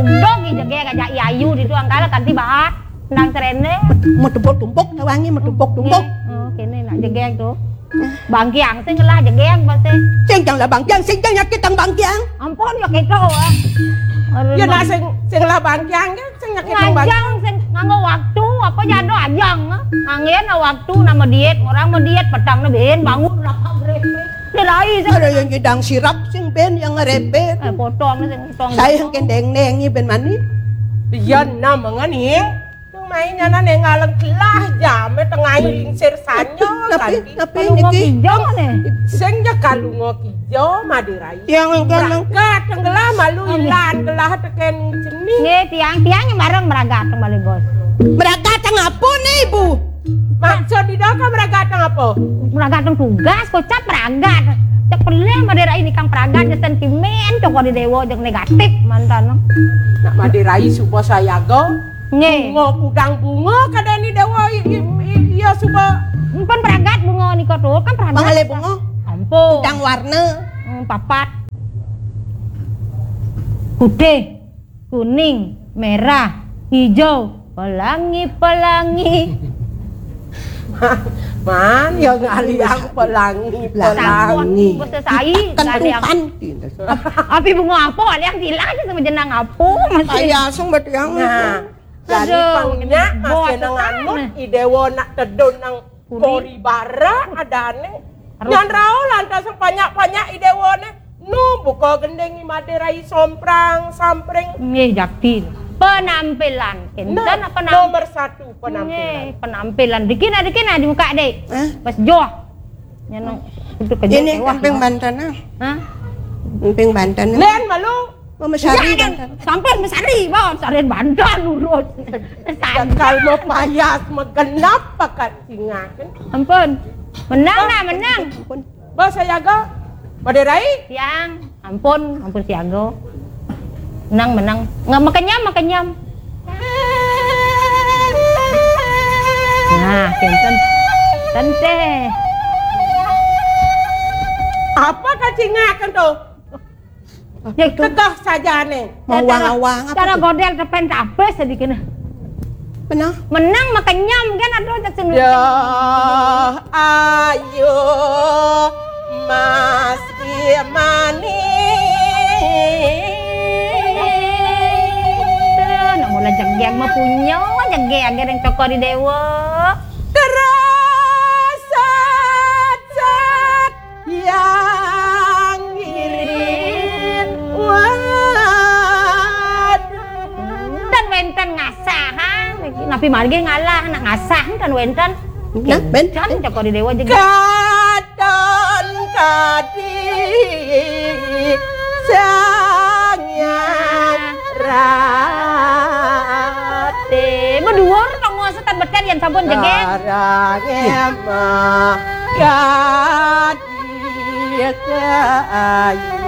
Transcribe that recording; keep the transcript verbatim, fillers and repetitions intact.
Dong, i jegég ajak i ayu ditu angkal kanti bahat. Nang keréné. Metebok tumpuk, tawangi metebok tumpuk. Nggih. Oh, kéné nak jegég to. Bangkiang sing ngelah jegég pasti. Sing jang lah bangkiang, sing jang nyakitang bangkiang. Ampun ya kéto, ah. Aduh, ya nak sing, sing lah bangkiang, kan sing nyakitang bangkiang. Ngajang sing nganggo waktu, apa jado ajang, ah. Anggén waktu nama diet, orang mau diet, petang na bén bangun lah grepet. Dérai sing. Ada yang nyidang sirap sing bén yang ngerepet. Eh, potong sing potong. Saya yang kendeng-deng bén mani. Iya, nah, mengening. Nang main nyana néngaleng gelah jamé tengah lingsir sanyo. Napi, kanti. Napi kalungo niki? Kijang né. Sing ja kalungo kijo, Madé Rai. Yang engkén nang meragat tenggelam malu. Oh, nggih. Ilan gelah tekén cening. Nggih, tiang, tiang yang bareng meragat teng Balé Bos. Meragat teng apa nih, Ibu? Maksud di doka meragat teng apa? Meragat teng tugas, kocap meragat. Cek pelih Madé Rai nikang meragat, ya sentimen, cokor di déwa, jek negatif mantan. Nak Madé Rai suba sayaga. Nggih. Bunga kudang bunga kadén i déwa i, i, i, iya suba. Mpun pragat bunga nika to, kan pragat. Mangalih bunga. Ampun. Kudang warna. Hmm, papat. Putih, kuning, merah, hijau, pelangi, pelangi. Man, ya ngalih aku pelangi, pelangi. Sampun, bos sai, kan ngalih aku. Tupan. Api bunga apa? Ada yang bilang aja sama jenang apa, Mas? Saya asung bet yang. Nah, jadi aduh, pangnya masih nang anut, i déwa nak tedun nang kori bara adané. Nyan rao lantas banyak-banyak i déwané. Nu buka gending i Madé Rai somprang, sampring. Nggih, jakti. Penampilan. Enten apa nam-, nomor satu penampilan. Nggih, penampilan. Dikina, dikina di muka, Dek. Hah? Pas joh. Nyeneng. Ini emping banten, ah. Hah? Emping banten. Lén malu. Mama Sari banten. Sampun Mama Sari, Bos. Sari banten urut. Kalau mau payas, megenap pakai singakan. Ampun. Menang nah, menang. Ampun. Bos sayaga. Madé Rai? Tiang. Ampun, ampun siaga. Menang, menang. Nggak makenyam, makenyam. Nah, kinten. Tenteh. Apa kacingakan tuh? Ya, itu. Tegah saja nih. Mau wang-wang apa cara tuh? Godel depan tapis sedikit. Benar. Menang makenyam kan, aduh, tak seneng. Ya, ayo, Mas Imani. Tuh, nak mula jegeg mah punya, jegeg yang cokor di déwa. Terus, set, set, yang ngiring. Waduh. Dan wénten ngasah, ha? Napi margi ngalah, nak ngasah kan wénten. Nah, ben. Kan cokor di déwa jegeg. Katon kadi Sang Hyang Rati. Madhuwur panguwasa tan beten yén sampun jegeg. Sarang emah kadi kayu.